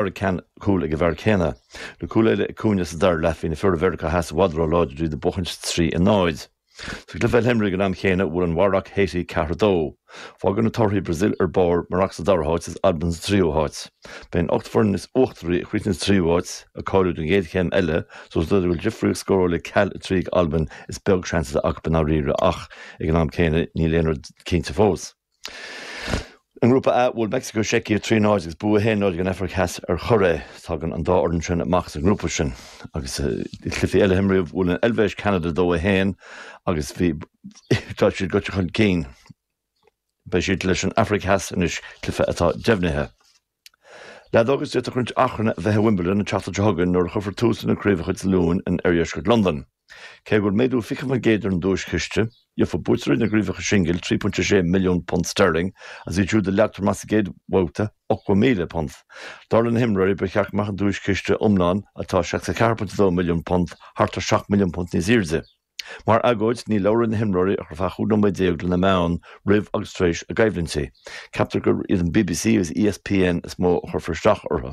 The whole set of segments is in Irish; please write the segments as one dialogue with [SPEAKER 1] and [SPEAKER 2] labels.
[SPEAKER 1] Dara cúl ag an bhfear céanna. Le cúl eile ag Cunha sa dara leath bhí na fir ó Mheiriceá Theas i bhfad ró-láidir d'iad ag buachaint 3 a 0. Sa gcluiche eile a imríodh ag an am chéanna bhuail an Mharóic Haiti 4 2. Fágann na torthaí Brazil ar barr, Maroc sa dara háit is Albain sa tríú háit. Beidh an 8 foireann is uachtaraí a chríochnaíonn sa tríú háit ag cáiliú don gcéad chéim eile so os rud é go bhfuil difríocht scórála ceal 3 ag Albain is beag seans atá acu i ndáiríre ach ag an am céanna níl aon rud cinnte fós. I nGrúpa A, bhuail Meicsiceo Seicia 3 0 agus bua 1 0 ag an Afraic Theas ar Choiré. Tagann an dá fhoireann sin amach as an ngrúpa sin. Agus i gcluichí eile a imríodh, bhuail an Eilvéis Ceanada 2 1 agus bhí tá siad gaibhte chun cinn. Beidh siad leis an Afraic Theas anois, cluiche atá deimhnithe. Leadóg agus d'fhéadfadh roinnt achrainn a bheith i Wimbledon an tseachtain seo chugainn nuair a chuirfear tús lena craobhacha Dé Luain in oirdheisceart Londan. Cé go bhfuil méadú 20% ar an duaischiste, gheofaidh buaiteoirí na gcraobhacha singil £3.6 milliún sterling agus iad siúd a leagtar amach sa gcéad bhabhta, £80,000. Dar le na himreoirí, ba cheart go mbeadh an duaischiste iomlán, atá £64.2 milliún, thart ar £7 milliún níos airde. Mar agóid, ní labhróidh na himreoirí ach ar feadh 15 nóiméad le na meáin roimh agus tar éis a gcoimhlintí. Ceaptar gur iad an bbc agus ESPN is mó a chuirfear isteach orthu.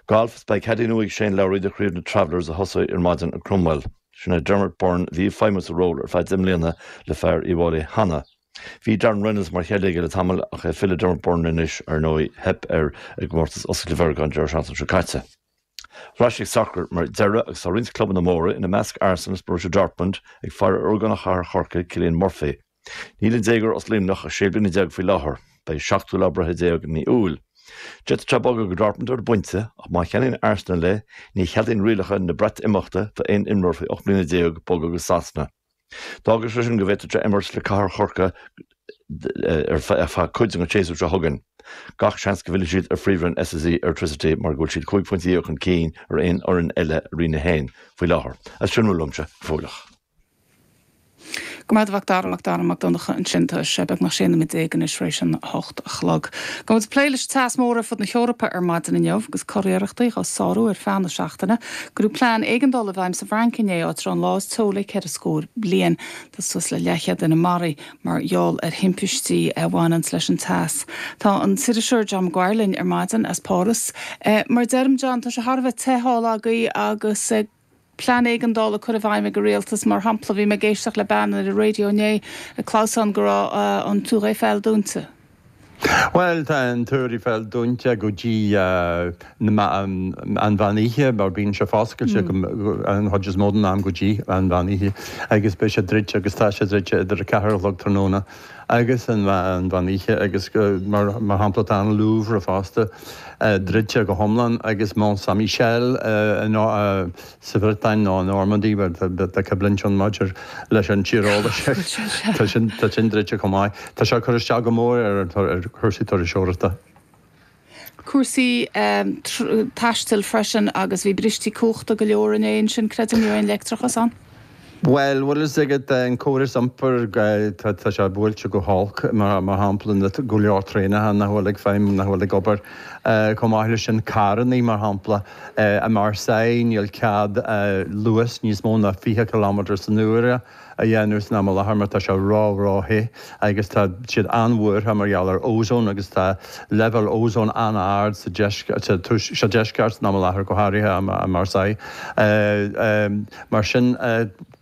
[SPEAKER 1] Galf, Is beidh caddie nua ag Shane Lowry do chraobh na Travelers a thosóidh ar maidin i gCromwell. Sin é Dermot Byrne a bhí ag feidhmiú sa ról ar feadh 10 mbliana le fear Uíbh Fhailí cheana. Bhí Darren Reynolds mar chaddie aige le tamall ach é ag filleadh Dermot Byrne anois, ar ndóigh, theip air i gcomórtas Oscailte Mheiriceá an deireadh seachtaine seo caite. Ar ais ag sacar mar dheireadh agus tá roinnt clubanna móra, ina measc Arsenal is Borussia Dortmund, ag faire ar ógánach chathair Chorcaí, Cillian Murphy. Níl an déagóir as Luimneach ach 16 bliana faoi láthair. Beidh a seachtú lá breithe i mí Iúil. D'fhéadfadh sé bogadh go Dortmund ar an bpointe ach má cheannaíonn Arsenal é, ní cheadaíonn rialacha na Breatimeachta d'aon imreoir faoi 18 mbliana bogadh go Sasana. D'fhágfadh sé sin go bhféadfadh sé imirt le cathair Chorcaí ar feadh cuid den tséasúr seo chugainn. Gach seans go bhfillfidh siad ar Phríomhroinn SSE Airtricity mar go bhfuil siad 15 phointe chun cinn ar aon fhoireann eile i Roinn 1 faoi láthair. As sin a bhfuil uaimse go fóilleach.
[SPEAKER 2] Go raibh maith agat a Mhac Dara, Mac Dara Mac Donncha ansin. Tá sé beagnach 16 nóiméad anois tar éis an 8 a chlog. Gabhfaidh muid ag plé leis an teas mór ar fud na hEorpa ar maidin inniu agus curiarrachtaí dhá sárú ar feadh na seachtaine. Cuireadh plean éigeandála i bhfeidhm sa bhFrainc inné, áit a raibh an lá is teo le ceithre scór bliain. Tá suas le leathchéad duine maraithe mar gheall ar thimpistí a bhaineanns leis an teas. Tá an t-iriseoir John Maguire linn ar maidin as Páras. Mar a deirim, John, tá sé thar a bheith te thall agaibh agus plean éigeandála curtha i bhfeidhm ag an rialtas. Mar shampla, bhí mé ag éisteacht le bean ar an raidió inné ag clamhsán go raibh an Tour Eiffel dúnta.
[SPEAKER 3] Bhuel, tá an Túr Eiffel dúnta go dtí an mheán oíche, mar bíonn sé foscailte an chuid is mó den am go dtí an mheán oíche, agus beidh sé druidte agus tá sé druidte idir 4 a chlog tráthnóna agus an mheán oíche agus mar shampla tá an Louvre fosta druidte go hiomlán agus Mont Saint Michel sa Bhriotáin nó i Normandy, bhuel tá coimhlint ann maidir leis an tír eolais tá sin tá sin druidte chomh maith. Tá sé ag cur isteach go mór ar ar chúrsaí turasóireachta.
[SPEAKER 2] Cúrsaí taistil freisin agus bhí bristí cumhachta go leor inné ansin, creidim, ní raibh aon leictreachas ann.
[SPEAKER 3] Bhuel, bhfuil fhios agat, an córas iompair, tá sé buailte go holc, mar shampla, na go leor traenacha nach bhfuil ag feidhmiú, nach bhfuil ag obair. Chomh maith leis sin, carrannaí, mar shampla, i Marseille níl cead luas níos mó ná 20 kilometre san uair a dhéanamh san am i láthair mar tá sé ró, ró-the agus tá siad an-bhuartha mar gheall ar ozone agus tá leibhéal ozone an-ard sa deisceart san am i láthair, go háirithe i Marseille. Mar sin,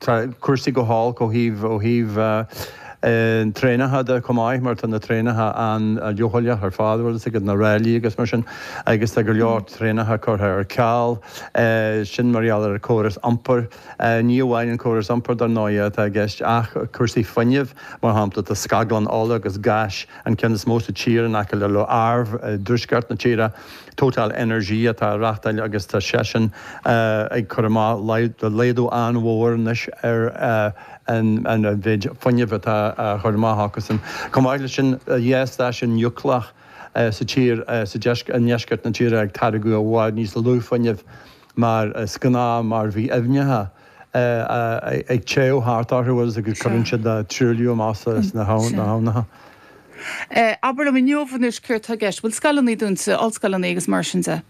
[SPEAKER 3] tá cúrsaí go holc ó thaobh, ó thaobh traenacha de chomh maith mar tá na traenacha an-leochaileach ar fad, bhfuil fhios agat, na ráillí agus mar sin, agus tá go leor traenacha curtha ar ceal, sin mar gheall ar an córas iompair. Ní amháin an córas iompair dar ndóigh atá i gceist ach cúrsaí fuinnimh, mar shampla tá scaglann ola agus gáis, an ceann is mó sa tír, in aice le Le Havre i dtuaisceart na tíre. Total Energies atá á reáchtáil agus tá seisean ag cur amach laghdú an-mhór anois ar an mhéid fuinnimh atá á chur amach acusan. Chomh maith leis sin, dhá stáisiún núicléach sa tír, sa i ndeisceart na tíre ag táirgeadh i bhfad níos lú fuinnimh mar is gnáth mar bhí aibhneacha ag téamh thart orthu agus cuireann siad truailliú amach sna habhnacha.
[SPEAKER 2] Abair liom inniu anois céard tá i gceist? Bhfuil scoileanna dúnta, ollscoileanna agus mar sin de?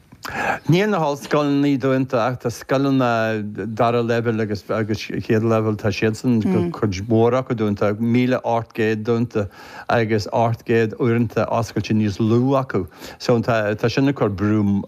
[SPEAKER 3] Níl na hollscoileanna dúnta ach tá scoileanna dara leibhéal agus agus chéad leibhéal, tá siadsan, cuid mhór acu dúnta, 1,800 dúnta agus 800 uaireanta oscailte níos lú acu. So tá tá sin ag cur brú.